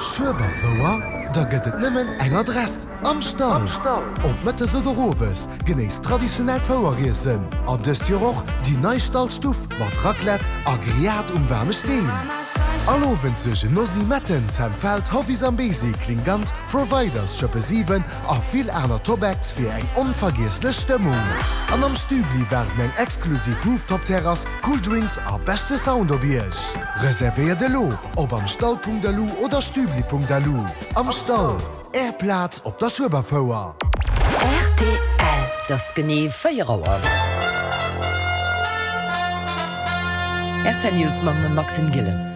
Schueberfouer? Da gëtt et nëmmen eng Adress, Am Stall! Ob mëttes oder owes, genéisst traditionellt Foueriessen an dëst Joer och déi nei Stallstuff mat Raclette a Grillade um waarme Steen. All Owend suergen Nosy Metten, Sam Feld, Hovi Zambezi, Klingant, Providers, Schëppe 7 a vill aner Top Acts fir eng onvergiesslech Stëmmung. An am Stübli waarden eng exklusiv Rooftop-Terrass, cool Drinks a beschte Sound op Iech. Reservéiert elo op amstall.lu oder stübli.lu. Am Stall, Är Plaz op der Schueberfouer. Rtl, Et ass genee 4 Auer. Rtl News mam Maxime Gillen.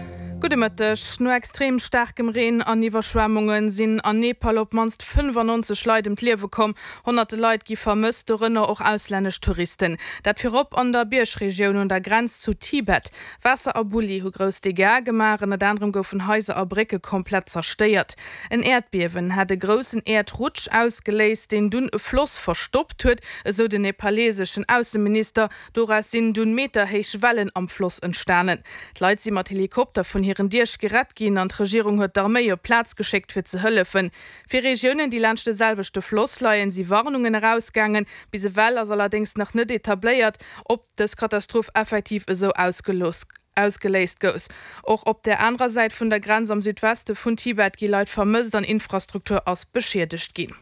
Gudde Mëtteg. No extrem staarkem Reen an Iwwerschwemmunge sinn an Nepal op d'mannst 95 Leit ëm d'Liewe komm. Honnerte Leit gi vermësst, dorënner och auslännesch Touristen. Dat virop an der Biergregioun un der Grenz zu Tibet. Waasser a Bulli hu grouss Dégâts gemaach, ënnert anerem goufen Haiser a Brécke komplett zerstéiert. En Äerdbiewen hat e groussen Äerdrutsch ausgeléist, deen dunn e Floss verstoppt huet, esou den nepaleseschen Ausseminister. Doraus sinn dunn meterhéich Wellen am Floss entstanen. D'Leit si mat Helikopter vun hiren Diech gerett ginn an d'Regierung huet d'Arméi op d'Plaz geschéckt fir ze hëllefen. Fir Regiounen, déi laanscht de selwechte Floss leien, si Warnungen erausgaangen. Bis ewell ass allerdéngs nach net etabléiert, ob dës Katastroph effektiv esou ausgeléist gous. Och op der anerer Säit vun der Grenz am Südweste vun Tibet gi Leit vermësst an Infrastruktur ass beschiedegt ginn.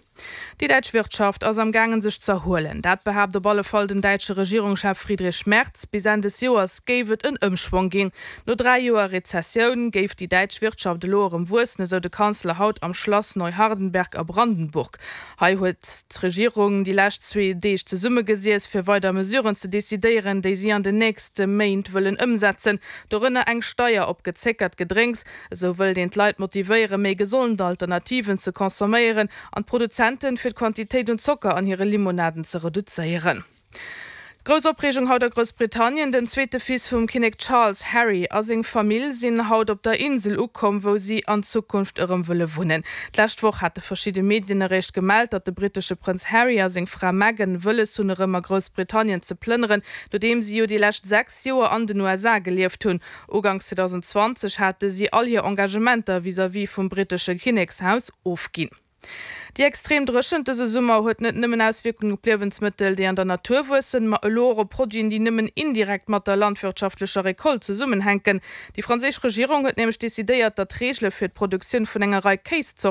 Déi däitsch Wirtschaft ass am gaangen sech z'erhuelen. Dat behaapt op alle Fall den däitsche Regierungschef Friedrich Merz. Bis Enn des Joers géif et en Ëmschwong ginn. No 3 Joer Rezessioun géif déi däitsch Wirtschaft elo erëm wuessen, esou de Kanzler haut am Schlass Neuhardenberg a Brandenburg. Hei huet d'Regierung déi lescht zwee Deeg zesummegesiess, fir weider Mesuren ze decidéieren, déi si an den nächste Méint wëllen ëmsetzen, dorënner eng Steier op gezéckert Gedrénks. Esou wëllt een d'Leit motivéieren, méi gesond Alternativen ze consomméieren an d'Produzenten, fir d'Quantitéit un Zocker an hire Limonaden ze reduzéieren. Grouss Opreegung haut a Groussbritannien, Den zweete Fils vum Kinnek Charles, Harry, a seng Famill sinn haut op der Insel ukomm, wou si an Zukunft erëm wëlle wunnen. D'lescht Woch hate verschidde Medien eréischt gemellt, datt de brittesche Prënz Harry a seng Fra Meghan wëlles hunn erëm a Groussbritannien ze plënneren, nodeem si jo déi lescht 6 Joer an den USA gelieft hunn. Uganks 2020 hate si all hir Engagementer vis-à-vis vum brittesche Kinnekshaus ofginn. Déi extrem Dréchent dëse Summer huet net nëmmen Auswierkungen op Liewensmëttel, déi an der Natur wuessen, ma elo och op Produiten, déi nëmmen indirekt mat der landwirtschaftlecher Recolte zesummenhänken. Déi franséisch Regierung huet nämlech decidéiert, datt d'Reegele fir d'Produktioun vun enger Rei Kéiszorten.